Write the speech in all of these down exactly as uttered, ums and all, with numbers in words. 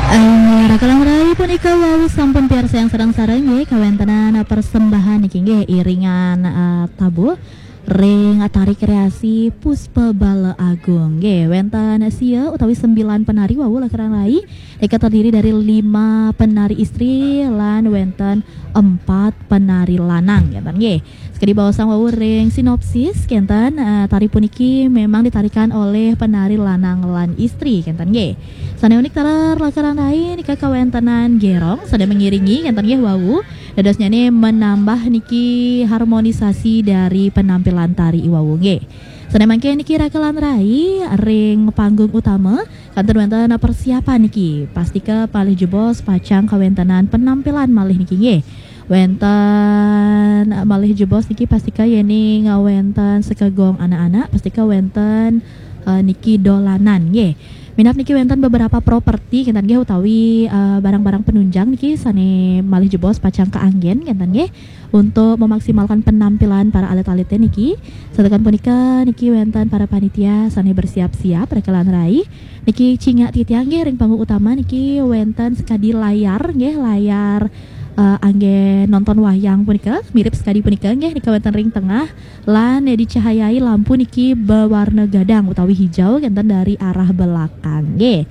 Inggih, rakalan rai punika wau sampun piarsayang sareng-sareng nggih kawéntenan persembahan niki nggih iringan eh, tabuh ring tari kreasi Puspa Bala Agung nggih wénten sia utawi sembilan penari wau rakalan rai nika terdiri dari lima penari istri lan wénten empat penari lanang ngénten nggih. Sekadi baosang wau ring sinopsis kenten eh, tari puniki memang ditarikan oleh penari lanang lan istri kenten nggih. Sane unik taler lakaran rai nika kawentenan gerong sane mengiringi kenten nggih wau. Dadosnyane menambah niki harmonisasi dari penampilan tari iwau nggih. Sane mangke niki rakalan rai ring panggung utama kantun wenten persiapan niki. Pastika palih jebos pacang kawentenan penampilan malih niki nggih. Wenten malih jebos niki pastika yening wenten sekegong anak-anak pastika wenten uh, niki dolanan nggih. Minap niki wenten beberapa properti kenten nggih utawi uh, barang-barang penunjang niki sane malih jebos pacang keanggen kenten nggih untuk memaksimalkan penampilan para alit-alit niki. Satukan punika niki wenten para panitia sane bersiap-siap rekelan rai. Niki cingak titiang nggih ring panggung utama niki wenten sekadi layar nggih layar uh, angge nonton wayang punika mirip sekadi punika nggih nika wenten ring tengah lan dicahayai lampu niki berwarna gadang utawi hijau kenten dari arah belakang nggih.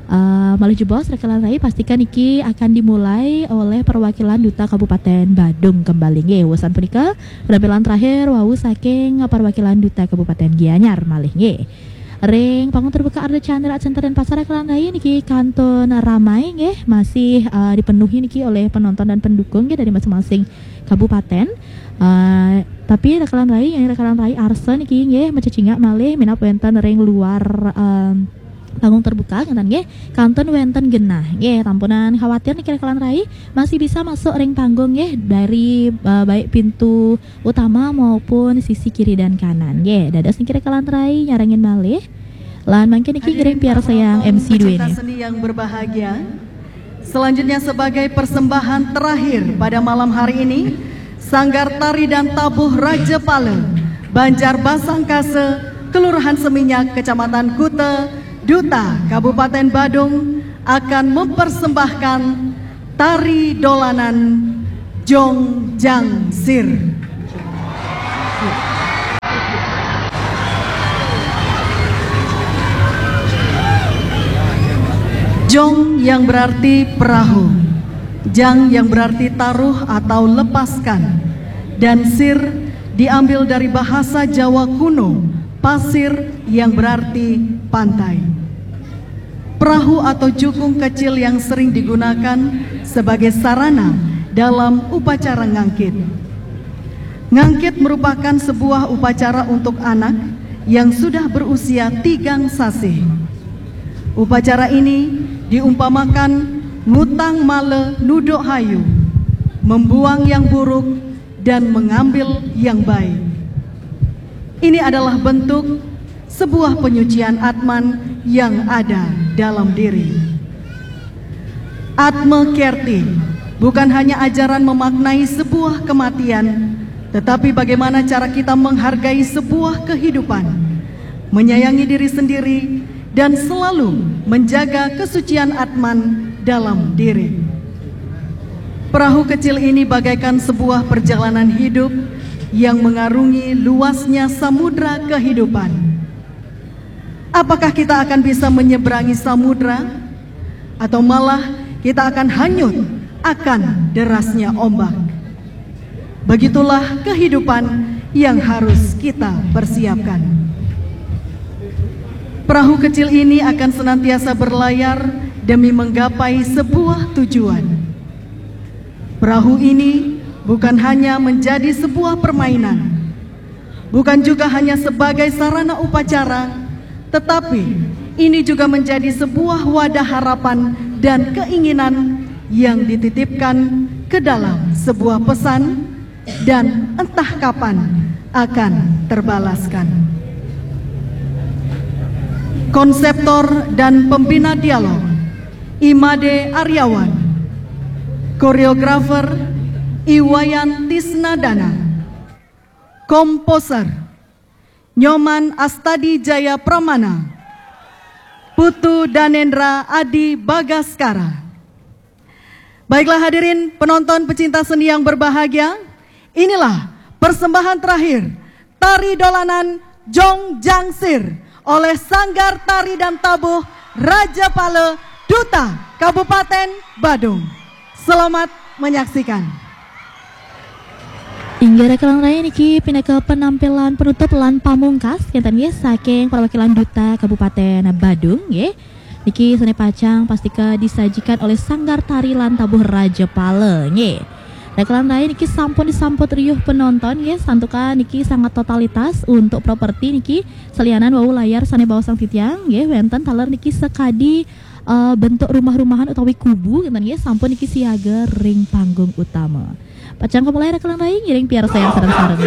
Uh, malih jebos rekelan rai pastikan niki akan dimulai oleh perwakilan Duta Kabupaten Badung kembali nggih. Usan punika penampilan terakhir wau saking perwakilan Duta Kabupaten Gianyar malih nggih. Ring panggung terbuka Arda Chandra Center dan Pasar Kelantai niki kantun ramai nggih masih uh, dipenuhi niki oleh penonton dan pendukung nggih dari masing-masing kabupaten. Uh, tapi rakalan rai yang rakalan rai arsa niki nggih macecingak malih minap wenten ring luar um, panggung terbuka ngeten nggih kantun wenten genah nggih tampunan khawatir niki rakalan rai masih bisa masuk ring panggung nggih dari uh, baik pintu utama maupun sisi kiri dan kanan nggih dados niki rakalan rai nyarengin malih. Lan mangke niki ngiring piarsayang M C dua ini. Seni yang berbahagia. Selanjutnya sebagai persembahan terakhir pada malam hari ini, Sanggar Tari dan Tabuh Raja Pala, Banjar Basangkase, Kelurahan Seminyak, Kecamatan Kuta, Duta, Kabupaten Badung, akan mempersembahkan tari dolanan Jong Jang Sir. Jong yang berarti perahu, jang yang berarti taruh atau lepaskan, dan sir diambil dari bahasa Jawa kuno, pasir yang berarti pantai. Perahu atau jukung kecil yang sering digunakan sebagai sarana dalam upacara ngangkit. Ngangkit merupakan sebuah upacara untuk anak yang sudah berusia tigang sasih. Upacara ini diumpamakan ngutang male nuduk hayu, membuang yang buruk dan mengambil yang baik. Ini adalah bentuk sebuah penyucian atman yang ada dalam diri. Atma Kerti bukan hanya ajaran memaknai sebuah kematian, tetapi bagaimana cara kita menghargai sebuah kehidupan, menyayangi diri sendiri, dan selalu menjaga kesucian atman dalam diri. Perahu kecil ini bagaikan sebuah perjalanan hidup yang mengarungi luasnya samudra kehidupan. Apakah kita akan bisa menyeberangi samudra? Atau malah kita akan hanyut akan derasnya ombak? Begitulah kehidupan yang harus kita persiapkan. Perahu kecil ini akan senantiasa berlayar demi menggapai sebuah tujuan. Perahu ini bukan hanya menjadi sebuah permainan, bukan juga hanya sebagai sarana upacara, tetapi ini juga menjadi sebuah wadah harapan dan keinginan yang dititipkan ke dalam sebuah pesan dan entah kapan akan terbalaskan. Konseptor dan pembina dialog Imade Aryawan. Koreografer Iwayan Tisnadana. Komposer Nyoman Astadi Jaya Pramana. Putu Danendra Adi Bagaskara. Baiklah hadirin penonton pecinta seni yang berbahagia, inilah persembahan terakhir tari dolanan Jong Jangsir oleh Sanggar Tari dan Tabuh Raja Pala Duta Kabupaten Badung. Selamat menyaksikan. Inggih raka langkung niki pinaka penampilan penutup lan pamungkas kinten nggih saking perwakilan Duta Kabupaten Badung nggih. Niki sane pacang pastika disajikan oleh Sanggar Tari lan Tabuh Raja Pala nggih. Raka langkung niki sampun disambut riuh penonton nggih, santukan niki sangat totalitas untuk properti niki selianan wau layar sane baosang titiang nggih, wenten taler niki sekadi eh, bentuk rumah-rumahan utawi kubu kinten nggih, sampun niki siaga ring panggung utama. Pacang kamulai raka langkung ngiring piarsayang sareng-sareng.